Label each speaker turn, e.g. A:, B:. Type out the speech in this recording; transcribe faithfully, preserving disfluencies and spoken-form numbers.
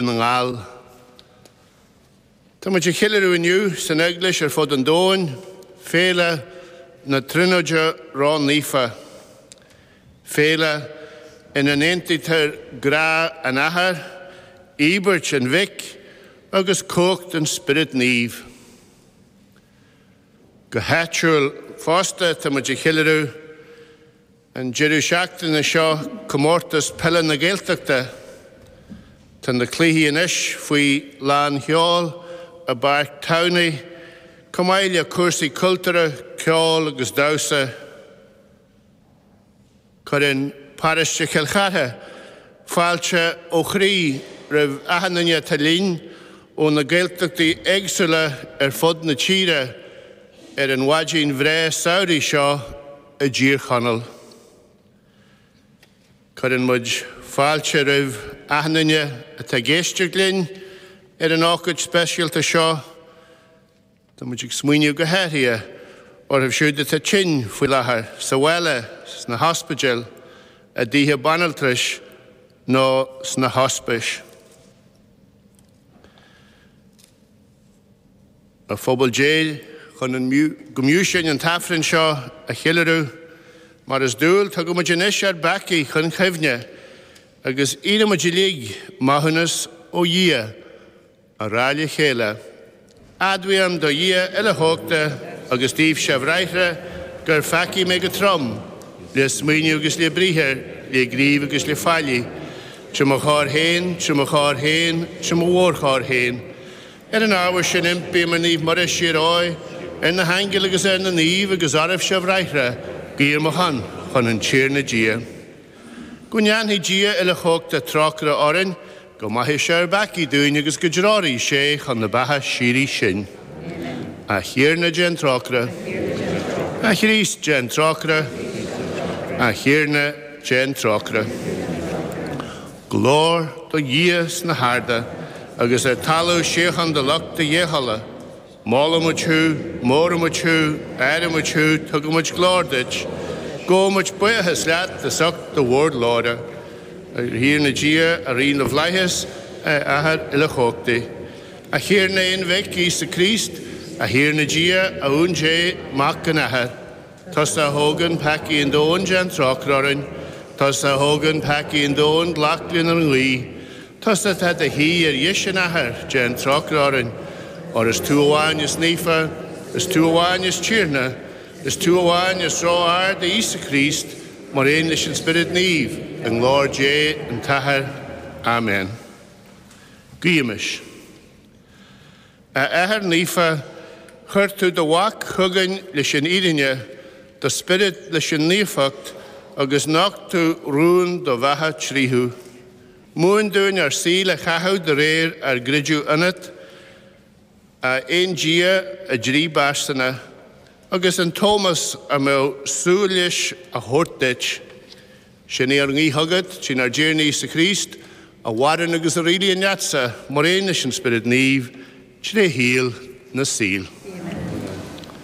A: na nGall. Tá muid ag ceiliúradh inniu san Eaglais ar fud an domhain, Féile na Tríonóide Ró-Naofa, féile ina n-aontaítear grá an Athar, íobairt an Mhic agus cumhacht an Spioraid Naoimh. Go háitiúil fosta tá muid ag ceiliúradh an deireadh seachtaine seo Comórtas Peile na Gaeltachta. Tá na cluichí anois faoi lán-sheol i bPáirc Towney, chomh maith le cúrsaí cultúrtha, ceol agus damhsa. Cuireann Paróiste Chill Chartha fáilte ó chroí roimh achan duine atá linn ó na Gaeltachtaí éagsúla ar fud na tíre ar an mhaidin bhreá samhraidh seo i dTír Chonaill. Cuireann muid fáilte roimh achan duine atá ag éisteacht linn ar an ócáid speisialta seo. Tá muid ag smaoineamh go háirithe orthu siúd atá tinn faoi láthair sa bhaile, sna hospidéil, i dtithe banaltrais nó sna hospais. A phobal Dé, chun an go mb'fhiú sinn an t-aifreann seo a cheiliúradh, mar is dual, tugaimid anois ár bpeacaí chun cuimhne, agus iarraimid uilig maithiúnas ó Dhia a rá le chéile. Admhaím do Dhia uilechumhachta agus daoibhse, a bhráithre, gur pheacaigh mé go trom, le smaoineamh agus le briathar, le gníomh agus le faillí, trí mo chor féin, trí mo chor féin, trí mo mhórchor féin. Ar an ábhar sin impím ar Naomh Muire Síoraí, ar na haingil agus ar na naoimh agus oraibhse, a bhráithre, guí ar mo shon chun an Tiarna Dia. Go ndéanfaidh Dia uilechumhachta trócaire orainn, go maithfidh sé ár bpeacaí dúinn agus go dtreoraí sé chun na beatha síoraí sinn. A Thiarna, déan trócaire. A Chríost, déan trócaire. A Thiarna, déan trócaire. Glóir do Dhia sna harda, agus ar talamh síocháin do lucht a dheathola. Molaimid thú, móraimid thú, adhraimid thú, tugaimid glóir duit, gabhaimid buíochas leat as ucht do mhórghlóire. A Thiarna Dia, a Rí na bhFlaitheas, a Athair uilechumhachtaigh. A Thiarna Aon-Mhic, Íosa Críost, a Thiarna Dia, a Uan Dé, Mac an Athar. Tusa a thógann peacaí an domhain, déan trócaire orainn. Tusa a thógann peacaí an domhain, glac lenár nguí. Tusa atá i do shuí ar dheis an Athar, déan trócaire orainn. Óir is tú amháin is naofa, is tú amháin is Tiarna, is tú amháin is ró-ard, a Íosa Críost, mar aon leis an Spiorad Naomh, i nglóir Dé an tAthair. Amen. Guímis. A Athair naofa, chuir tú do Mhac chugainn leis an fhírinne, do Spiorad leis an naofacht, agus nocht tú rún do bheatha tríothu. Múin dúinn ár saol a chaitheamh de réir ár gcreideamh ionat, a Aon Dia i dtrí bpearsana, agus an tómas a mbeadh súil leis a thabhairt duit. Sin é ár nguí chugat, trínár dTiarna Íosa Críost, a mhaireann agus a rialaíonn leatsa, mar aon leis an Spiorad Naomh, tré shaol na saol.